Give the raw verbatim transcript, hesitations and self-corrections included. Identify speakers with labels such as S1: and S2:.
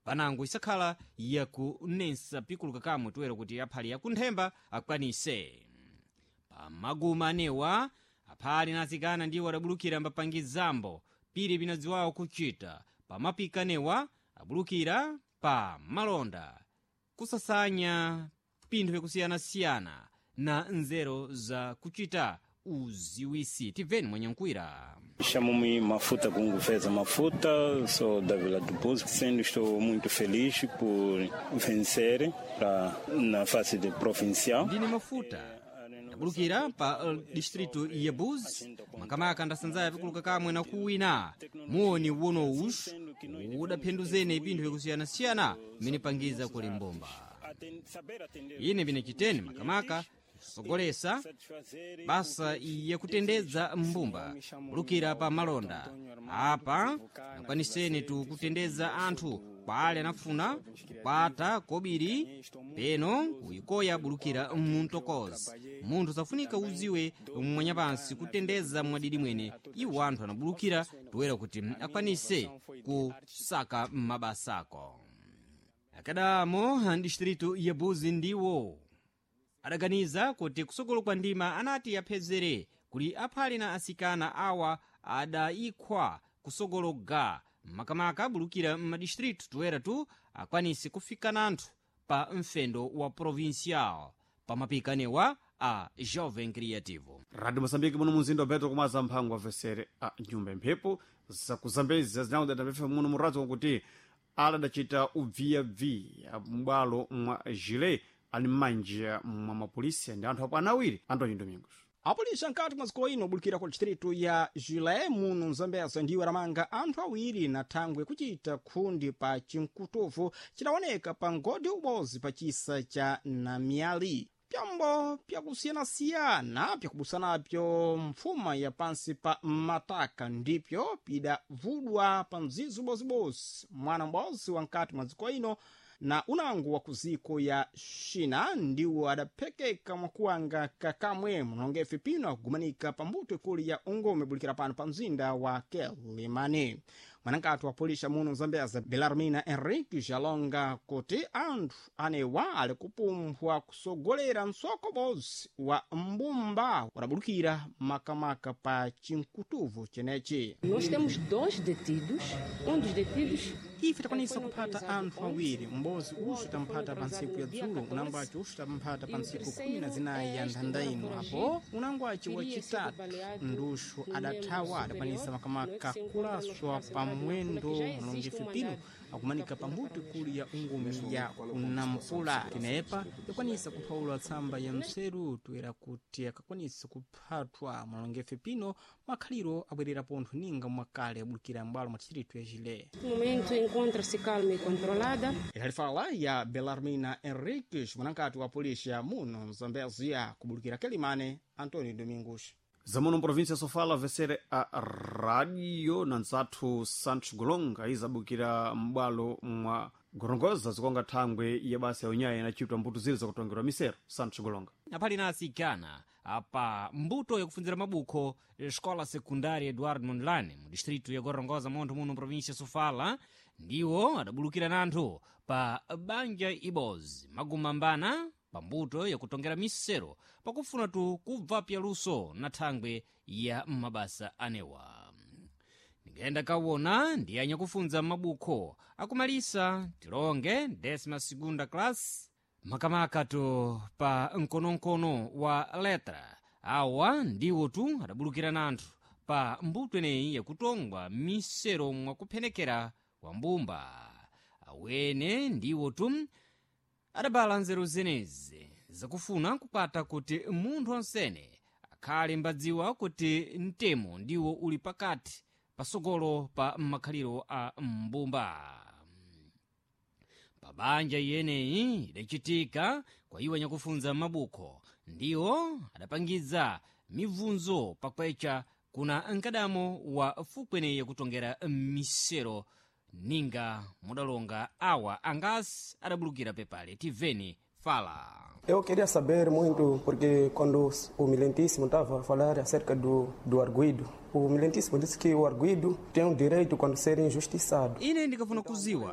S1: Panango isakhala yakunensa pikuluka kamwe toera kuti aphali yakunthemba akwanise. Pamaguma anewa, aphali na atsikana ndiwo adabulukira mbapangizambo pili pinadziwawo kuchita pamapika anewa abulukira pa malonda, kusasanya pinthu vyakusiyanasiyana na nzeru za kuchita uziwisi. Tibveni mwanyankwira.
S2: Chamo-me Mafuta Gungo Feza Mafuta, sou da Vila do Buzo. Sendo estou muito feliz por vencer pra, na fase de provincial.
S1: Ndine Mafuta, ndabulukira pa uh, distrito ya Buzi, makamaka ndasanzaya vikuluka kamwe na kuwina muoni wonowuxu udaphenduzene pinthu vyakusiyanasiyana mmene pangiza kuli mbomba. Ine pinachiteni makamaka kusogolesa basa yakutendedza mbumba kulukira pa malonda apa akwaniseni tu kutendedza anthu kwale anafuna kukwata kobiri peno kuyikoya bulukira muntokozi. Munthu safunika uziwe mwanyapansi kutendeza mwadidi mwene iwo anthu anabulukira toera kuti akwanise kusaka mabasako. Akadamo distrito ya Buzi ndiwo adaganiza kuti kusogolo kwa ndima anati aphezere kuli aphali na asikana awa adayikhwa kusogolo ga makamaka abulukira m'madistritu toera tu akwanise kufika nanthu pa mfendo wa provincial pamapikanewa a Jovem Creativo.
S3: Radio Moçambique, muno munzinda wa Beto, kumaza mphango avesere a nyumba emphepo zakuzambezi zinawudadapepha muno muradzo kuti aladacita ubviyabviya m'bwalo mwa Gile ali m'manja mwa mapolisi ndi anthu apo anawiri. Antonio Domingos.
S4: Apolisi ankati mwa dziko ino obulukira ku distritu ya Gilé muno Mzambeza ndiwo aramanga anthu awiri na thangwe kuchita khundi pa chinkutuvu chidaoneka pa ngodi ubodzi pa chisa cha Namiali. Pyambo pyakusiyanasiyana pyakubusanapyo mfuma ya pansi pa mataka ndipyo pidavudwa pa mzizi ubozibozi mwana m'bodzi wa nkati mwa dziko ino na unango wa kuziko ya China ndiwo adaphekeka mwakuwanga kakamwe munongefe pino akugumanika pa mbuto ikulu ya ungome bulikira pano pa mzinda wa Kelimani. Mwanankati wa polisi muno Zambeza, Belarmina Henrique, jalonga kuti anthu anewa ali kupumphwa kusogolera msoko bodzi wa mbumba wadabulukira makamaka pa chinkutuvu chenechi.
S5: Nós temos dois detidos. Um dos detidos
S4: Ife takwanisa kuphata anthu awiri, m'bodzi uxu tamphata pa ntsiku ya dzulo, unango aci uxu tamphata pa ntsiku khumi na zinayi ya nthanda ino, apo unango aci wacitatu nduxu adathawa adakwanisa makamaka kulaswa pa mwendo mulongefe pino akumanika pa mbuto ikulu ya ungumi ya kunampula. Tinepa yakwanisa kuphawula tsamba ya mseru toera kuti akakwanisa kuphathwa mulongefe pino makhaliro abwerera pontho ninga mwakale abulukira m'bwalo mwa distritu ya Gilé.
S5: Neste momento encontra-se calma e controlada.
S4: Idalifala ya Belarmina Henriques, mwanankati wa polícia muno Mzambezia, kubulukira Quelimane, Antônio Domingos.
S3: Zamuno província Sofala avesere a radio na nzathu Santos Golonga izabukira m'bwalo mwa Gorongoza zikonga thangwe ya basa ya unyayi inachitwa mbuto ziri zakutongerwa misero. Santos Golonga.
S1: Aphali na atsikana apa mbuto yakufunzira mabukho escola secundária Eduardo Mondlane mu distrito ya Gorongosa montho muno província Sofala ndiwo adabulukira nanthu pa banja ibozi magumambana pa mbuto yakutongera misero pakufuna tu kubva pyaluso na thangwe ya mabasa anewa. Ndingayenda kawona ndi anyakufunza mabukho akumalisa tilonge décima segunda classe makamaka to pa mkonomkono wa letra. Awa ndiwo tu adabulukira nanthu pa mbuto eneyi yakutongwa misero mwakuphenekera kwa mbumba. Awene ndiwo tu adabala nzeru zenezi zakufuna kupata kuti munthu onsene akhale mbadziwa kuti mtemo ndiwo uli pakati pasogolo pa makhaliro a mbumba. Pabanja iyeneyi idachitika kwa iwo anyakufunza mabukho ndiwo adapangiza mibvunzo pakwecha kuna mkadamo wa fukweneyi yakutongera misero ninga mudalonga awa angasi adabulukira pepale. Tiveni fala.
S6: Eu queria saber muito, porque quando o Milentíssimo estava a falar acerca do, do arguido, o Milentíssimo disse que o arguido tem o direito quando ser injustiçado.
S1: Ine ndikafuna kuziwa